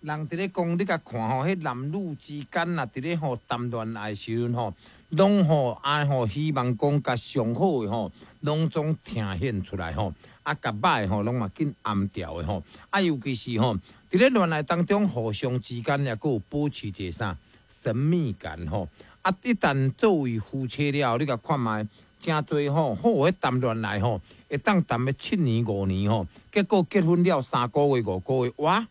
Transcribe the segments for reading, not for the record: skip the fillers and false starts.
人佇咧講，你共看吼，彼男女之間啊，佇咧吼談戀愛時陣吼，攏吼啊吼，希望講共上好的吼，攏總呈現出來吼，啊，共歹吼，攏嘛緊暗掉的吼，啊，尤其是吼，佇咧戀愛當中，互相之間也閣有保持一个啥神秘感吼，啊，一旦作為夫妻了後，你共看覓，誠濟吼好的談戀愛吼，會當談欲7年5年吼，結果結婚了3個月5個月，哇！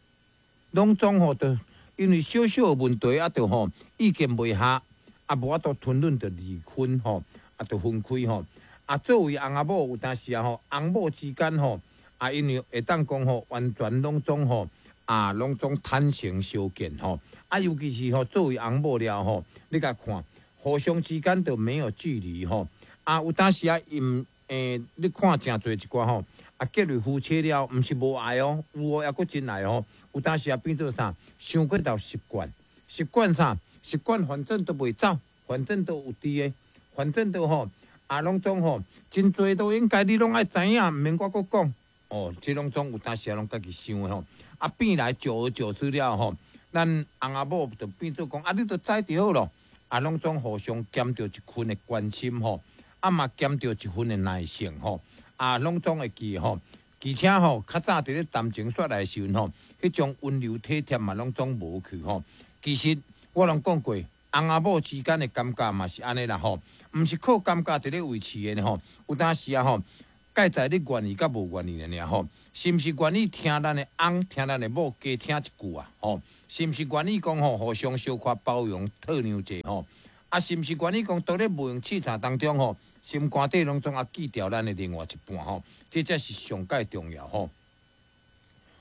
攏總吼，就因為小小的問題啊，就吼意見袂合，啊無法度吞忍就離婚吼，啊就分開吼。啊，作為翁仔某有當時啊吼，翁某之間吼，啊因為會當講吼，完全攏總吼，啊攏總坦誠相見吼。啊，尤其是吼作為翁某了吼，你共看，互相之間就沒有距離吼。啊，有當時啊，𪜶你看誠濟一寡吼。啊，結為夫妻了，毋是無愛哦，有哦，猶閣真愛哦。有當時啊，變做啥？傷過頭習慣，習慣啥？習慣反正都袂走，反正都有佇的，反正都吼，啊，攏總吼，真濟都應該你攏愛知影，毋免我閣講。哦，這攏總有當時啊，攏家己想的吼。啊，變來久而久之了吼，咱翁仔某就變做講，啊，你都知就好咯。啊，攏總互相兼著一份的關心吼，啊嘛兼著一份的耐性吼。啊，攏總會記吼，而且吼，較早佇咧談情說愛的時陣吼，彼種溫柔體貼嘛，攏總無去吼。其實我攏講過，翁仔某之間的感覺嘛是按呢啦吼，毋是靠感覺佇咧維持的吼。有當時啊吼，蓋在你願意佮無願意爾吼，是毋是願意聽咱的翁，聽咱的某加聽一句啊吼？是毋是願意講吼，互相小可包容體諒者吼？啊，是毋是願意講，當咧無閒試探當中吼？心肝底攏總會記著咱的另外一半吼，這才是上蓋重要吼。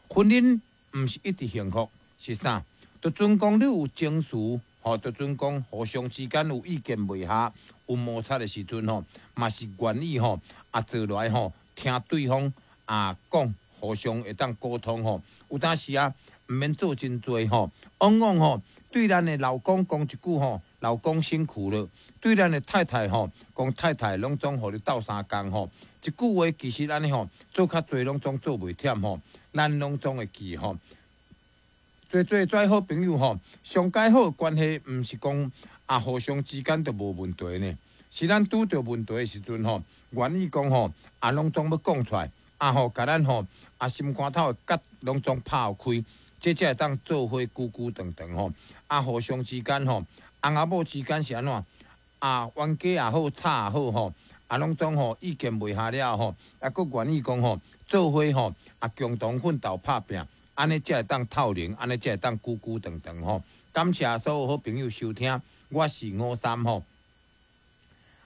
婚姻毋是一直幸福，是啥？就陣講你有情緒，吼，就陣講互相之間有意見袂合、有摩擦的時陣吼，嘛是願意吼啊坐落來吼聽對方啊講，互相會當溝通吼。有當時啊，毋免做真濟吼，往往吼對咱的老公講一句吼，老公辛苦了。對咱的太太吼，講太太攏總予你鬥相共吼，一句話其實按呢吼，做較濟攏總做袂忝吼，咱攏總會記吼。濟濟做好朋友吼，上蓋好的關係，毋是講啊互相之間就無問題呢。是咱拄著問題的時陣吼，願意講吼，啊攏總欲講出來，啊吼，共咱吼啊心肝頭的結攏總拍開，這才會當做伙久久長長吼。啊，互相之間吼，翁仔某之間是按怎？啊，冤家也好，吵也好吼，啊，攏總吼意見袂合了吼，啊，閣願意講吼，做伙吼，啊，共同奮鬥拍拚，按呢才會當透明，按呢才會當久久長長吼。感謝所有好朋友收聽，我是五三吼。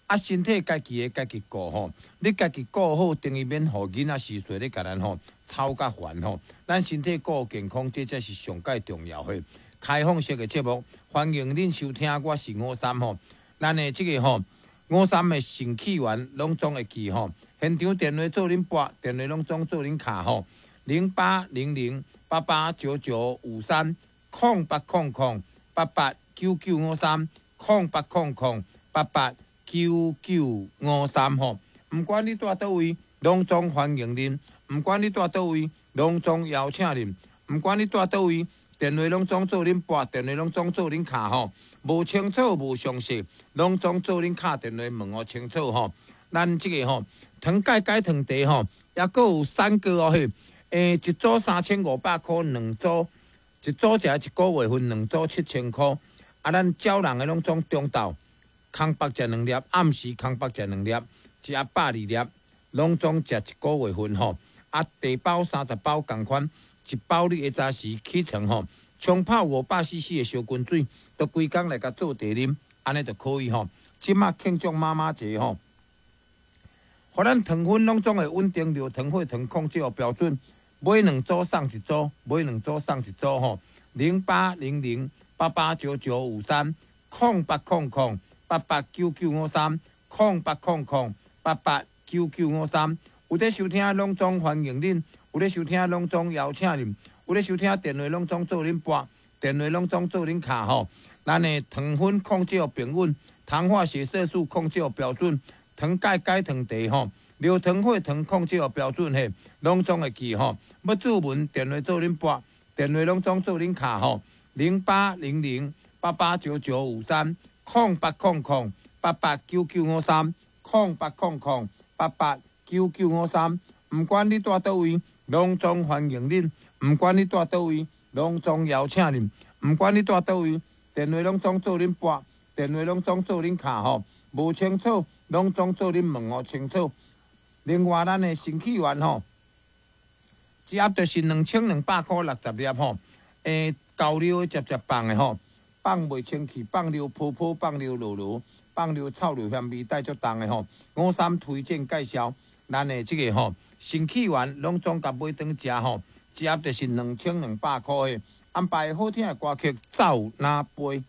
啊，身體家己的家己顧吼，你家己顧好，等於免予囡仔時歲咧共咱吼操甲煩吼。咱身體顧健康，這才是上蓋重要的。開放式的節目，歡迎恁收聽，我是五三吼。咱的這個吼，五三的腎氣丸攏總會記吼，現場電話做恁撥，電話攏總做恁敲吼，0800889953，0800889953，0800889953吼。毋管你蹛佗位，攏總歡迎恁；毋管你蹛佗位，攏總邀請恁；毋管你蹛佗位，電話攏總做恁撥，電話攏總做恁敲吼。無清楚、無詳細，攏總做恁敲電話問予清楚吼。咱這個吼，糖鈣解糖茶吼，抑閣有三個哦嘿，一組3500箍，兩組，一組食一個月份，兩組7000箍。啊，咱招人的攏總中晝，空腹食兩粒，暗時空腹食兩粒，一盒120粒，攏總食一個月份吼。啊，茶包30包仝款，一包你下早時起床吼，沖泡500 CC 的燒滾水，就規工來共做茶啉，按呢就可以吼。這馬慶祝媽媽節吼，予咱糖分攏總會穩定，尿糖、血糖控制標準，買兩組送一組，買兩組送一組吼。0800889953，0800889953，0800889953。有咧收聽，攏總歡迎恁；有咧收聽，攏總邀請恁；有咧收聽，電話攏總做恁撥，電話攏總做恁敲吼。咱的糖分控制平穩，糖化血色素控制標準，糖鈣解糖茶吼，尿糖血糖控制標準嘿，攏總會記吼。欲注文電話做恁撥，電話攏總做恁敲吼，0800889953，0800889953，0800889953。毋管你蹛佗位，攏總歡迎恁；毋管你蹛佗位，攏總邀請恁；毋管你蹛佗位，電話攏總做恁撥，電話攏總做恁敲吼。無清楚，攏總做恁問予清楚。另外，咱的新氣丸吼，一盒就是2200塊60粒吼。厚尿的捷捷放的吼，放袂清氣，放尿泡泡，放尿落落，放尿臭尿嫌味帶足重的吼。五三推薦介紹咱的這個吼，新氣丸攏總共買轉食吼，一盒就是2200塊的。安排好聽的歌曲《走哪飛》。